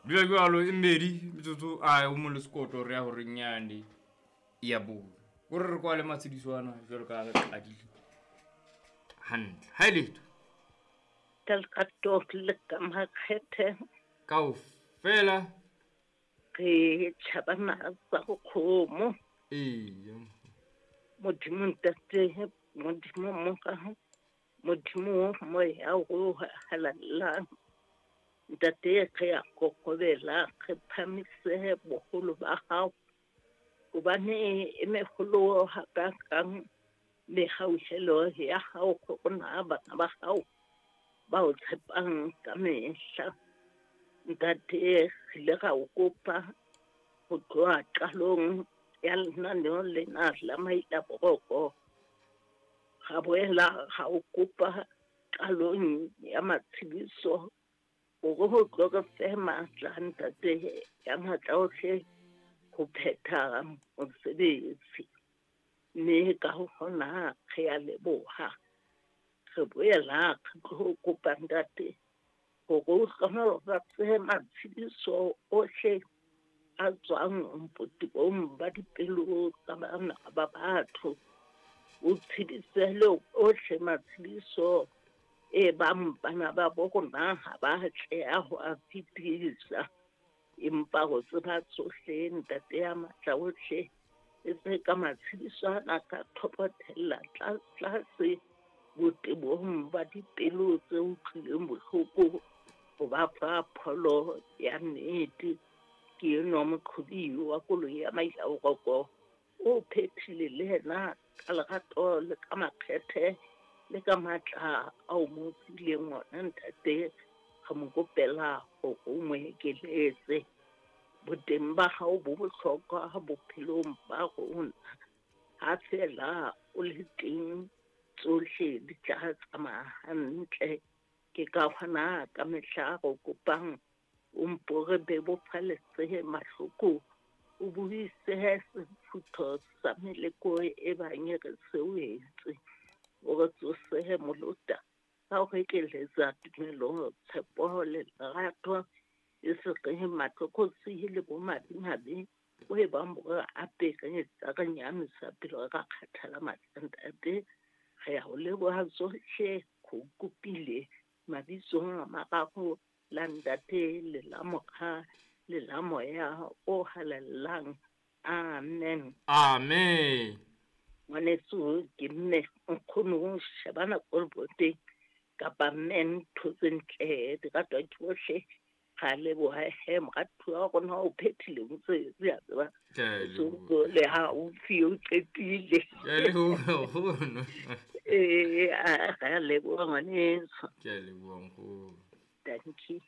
Dula jwalo e mmedi metsotso a o mo le sekoto re ya horeng yane ya bone. O re re kwale matshediso ana jwalo ka ha re qadile hantle. Ha e letho. Ka lerato le ka makgethe. Kaofela. Re tjhabana tsa go kgomo. Eya. Modimo ntate, Modimo Mora, Modimo moya o halalelang. Ntate re a kokobela, re phamise boholo ba hao. Hobane e meholo hakakang mehauhelo ya hao ho rona bana ba hao ba o tshepang ka mehla. Ntate re ile ra o kopa ho tloha qalong ya lenaneo lena la Maila Boroko. Ra boela ra o kopa qalong ya matshediso hore ho tlo re fe matla ntate ya matla ohle ho phetha mosebetsi. Mme ka ho hona re a leboha. Re boela re tlo kopa ntate hore o hlohonolofatse matshediso ohle a tswang botebong ba dipelo tsa bana ba batho. O tshedise le ohle matshediso e bang bana ba bo rona ha ba atleha ho a fetisa. Empa ho tseba tsohle ntate ya matla ohle, e se ka matshediso ana ka thopothella tlase botebong ba dipelo tse utlwileng bohloko ho ba fa pholo ya nnete. Ke enwa moqhobi wa koloi ya Maila Boroko o phethile le yena ka lerato le ka makgethe le ka matla ao mo fileng ona ntate. Re mo kopela hore o mo ekeletse. Boteng ba hao bo bohlokwa bophelong ba rona. Ha feela o le teng tsohle di tla tsamaya hantle. Ke ka hona ka mehla re kopang o mpo re bebofaletse mahloko, o buise sefutho sa meleko e bang e re sewetse. O re tsose molota ka ho re ekeletsa tumelo, tshepo le lerato, e se re matlokotsi le bomadimabe bo e bang bo re apere tsa re nyahamisa pelo ra kgathala matla ntate. Re a o leboha tsohle, re o kopile mabitsong a mararo, la ntate le la Mora le la Moya o halalelang. Amen. Amen. Ngwaneso ke mme nkgono shebana koloboteng kapa mme ntho tse ntle di ratwa ke bohle. Ra leboha he moratuwa wa rona o phethile mosebetsi a tseba. Ke a leboha. Le ha o fi o qetile. Ke a leboha nkgono. Ee, re a leboha ngwaneso. Ke a leboha nkgono. Thank you.